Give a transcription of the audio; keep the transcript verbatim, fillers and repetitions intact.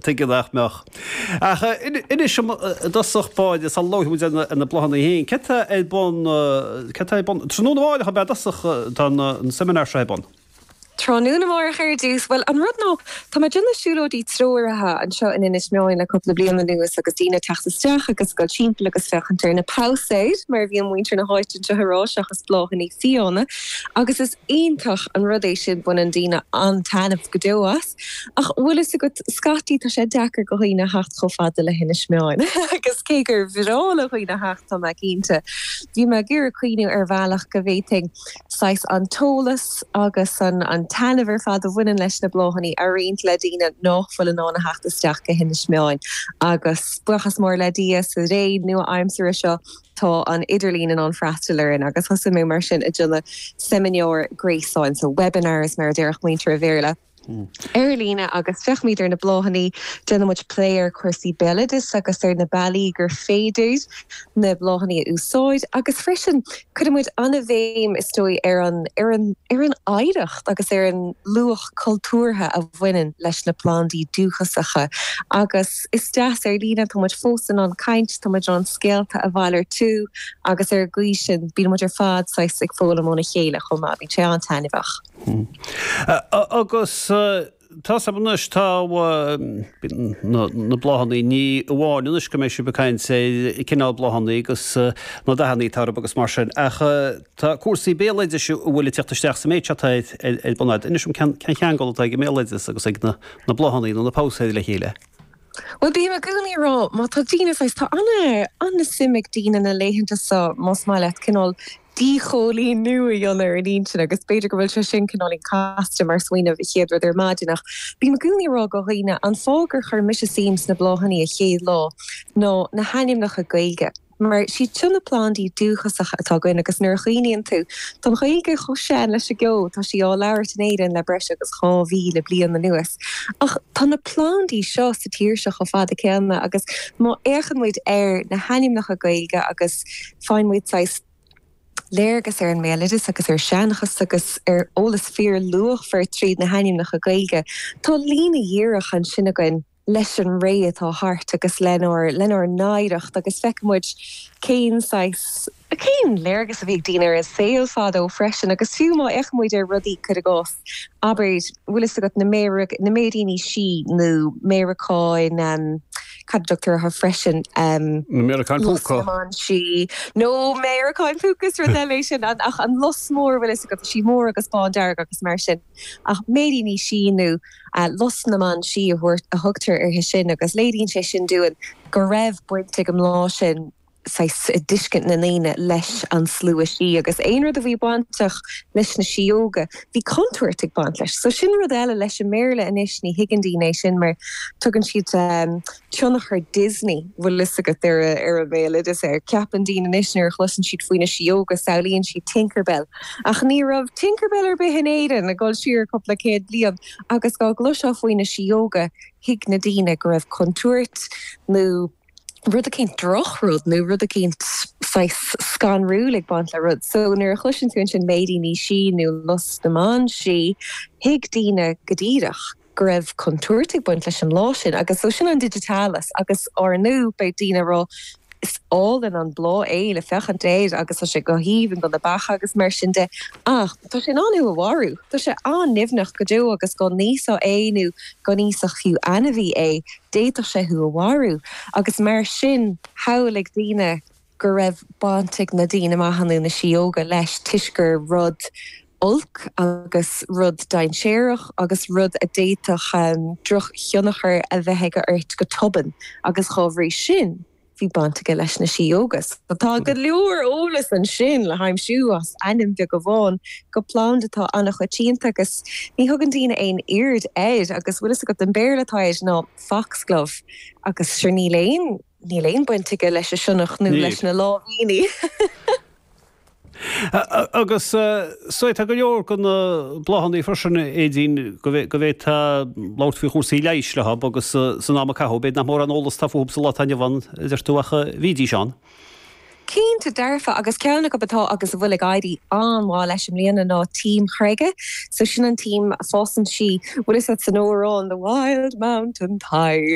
Tuige nach mbeadh. Ach inis dom i dtosach báire, sula labhróidh muid ar na bláthanna féin, céard tá ar bun, céard tá ar bun, tráthnóna amárach ab ea i dtosach tá an seimineár seo ar bun? Tráthnóna amárach ar dtús, bhuel an rud ná tá mé ag déanamh siúlóidí treoraithe anseo in Inis Meáin le cúpla bliain anuas agus daoine ag teacht isteach agus ag dul timpeall agus féachaint ar na pabhsaeir mar a bhíonn muintir na háite anseo ag rá seachas bláthanna fiáine agus is iontach an rud é sin baineann daoine an-taitneamh go deo as. Ach bhfuil fhios agat scaití tá sé deacair go dhaoine theacht chomh fada le hInis Meáin agus cé gur bhreá le dhaoine theacht tá mé cinnte. Bhí mé ag iarraidh cuimhniú ar bhealach go bhféadfainn saghas an t-eolas agus an an taitneamh ar fad a bhaineann leis na bláthanna a roinnt le daoine nach bhfuil in ann a theacht isteach go hInis Meáin. Agus buíochas mór le Dia sa ré nua-aimseartha seo tá an idirlíon in ann freastal orainn agus thosaigh mé mar sin ag déanamh seimineár gréasáin, so webinars mar a déarfadh muintir an Bhéarla. ar líne agus féachaimid ar na bláthanna, déanann muid plé ar chúrsaí béaloidis agus ar na bealaí gur féidir na bláthanna a úsáid agus freisin cuireann muid an-bhéim is dóigh ar an ar an ar an oidhreacht agus ar an luach cultúrtha a bhaineann leis na plandaí dúchasacha agus is deas ar líne tá muid fós in ann caint, tá muid in ann scéalta a mhalartú agus ar an gcaoi sin bíonn muid ar fad saghas ag foghlaim óna chéile chomh maith, bíonn sé an-taitneamhach. Agus tá 's agam anois, tá na bláthanna, ní amháin anois go mbeidh sibh ag caint ar cineál bláthanna agus na dathanna atá orthu agus mar sin, ach tá cúrsaí béaloidis a bhfuil ag teacht isteach sa méid seo atá ar bun agat. Inis dom cén ceangal atá ag an mbéaloideas agus ag na bláthanna nó na pabhsaeir le chéile. Bhuel, bím i gcónaí ag rá, má tá daoine saghas, tá an-suim ag daoine na laethanta seo, más maith leat, cineál díchoilíniú a dhéanamh ar an intinn agus b'fhéidir go bhfuil sé sin cineáilín casta mar smaoineamh a chéad rud ar maidin ach bím i gcónaí ag rá go dhaoine an fáth gur chuir mise suim sna bláthanna a chéad lá ná na hainmneacha Gaeilge. Mar siad seo na plandaí dúchasacha atá againn agus nuair a chuimhníonn tú, tá an Ghaeilge chomh sean leis an gceo, tá sí á labhairt in Éirinn le breis agus dhá mhíle bliain anuas. Ach tá na plandaí seo sa tír seo chomh fada céanna agus má fhéachann muid ar na hainmneacha Gaeilge agus faigheann muid saghas léargas ar an mbéaloideas agus ar seanchas agus ar eolas fíorluachmhar tríd na hainmneacha Gaeilge, tá líne dhíreach ansin againn leis an ré atá thart agus lenár lenár n-oidhreacht agus feiceann muid cén saghas, cén léargas a bhí ag daoine ar an saol fadó freisin agus fiú má fhéachann muid ar rudaí, cuir i gcás, abair, bhfuil fhios agat na na méiríní sí nó méaracáin, cad a dtugtar orthu freisin? Na méaracáin phúca. Lus na mban sí. Nó méaracáin phúca is rud eile é sin ach an lus mór, bhfuil fhios agat, tá sí mór agus bándearg agus mar sin. Ach méiríní sí nó lus na mban sí a thugtar uirthi sin agus léiríonn sé sin dúinn go raibh baint ag an mbláth sin, saghas, i dtuiscint na ndaoine leis an slua sí agus aon rud a bhí bainteach leis na síóga, bhí contúirt ag baint leis. So sin rud eile leis an mBéarla anois, ní thuigeann daoine é sin mar tugann siad tionchar Disney, bhfuil fhios agat, ar ar an mbéaloideas air. Ceapann daoine anois nuair a chloiseann siad faoi na síóga, samhlaíonn siad Tinkerbell. Ach ní raibh Tinkerbell ar bith in Éirinn ag dul siar cúpla céad bliain agus dá gcloisfeá faoi na síóga, thuig na daoine go raibh contúirt nó rud eicínt drochrud nó rud eicínt saghas scanrúil ag baint le rud. So nuair a chloiseann tú ansin méiríní sí nó lus na mban sí, thuig daoine go díreach go raibh contúirt ag baint leis an mbláth sin agus so sin an digitalis agus ár ndóigh beidh daoine ag rá is álainn an bláth é le féachaint air agus tá sé go haoibhinn do na beacha agus mar sin de ach tá sé in ann thú a mharú, tá sé an-nimhneach go deo agus dá n-íosfá é nó dá n-íosfadh fiú ainmhí é, d'fhéadfadh sé thú a mharú agus mar sin shamhlaigh daoine go raibh baint ag na daoine maithe nó na síóga leis toisc gur rud olc agus rud dainséarach agus rud a d'fhéadfadh drochthionchar a bheith aige ort go tobann agus dhá bhrí sin bhí baint aige leis na síóga. So tá go leor eolas ansin le haimsiú as ainm beag amháin go planda atá an-choitianta agus ní thugann daoine aon aird air agus bhfuil fhios agat an Béarla atá air ná foxglove agus sure níl aon níl aon baint aige leis an sionnach nó leis na láimhíní. Agus so tá go leor de na bláthanna freisin Aedín go bhféadfá labhairt faoi chúrsaí leighis leo agus san am a caitheadh, b'fhéidir nach mórán eolas atá fúthu sa lá atá inniu ann, a deir tú, ach bhídís ann. Cinnte dearfa, agus ceann acu atá agus a bhfuil ag éirí an-mhaith leis i mbliana ná tím chreige. So sin an tím a fásann sí, bhfuil fhios agat san amhrán The Wild Mountain Thyme.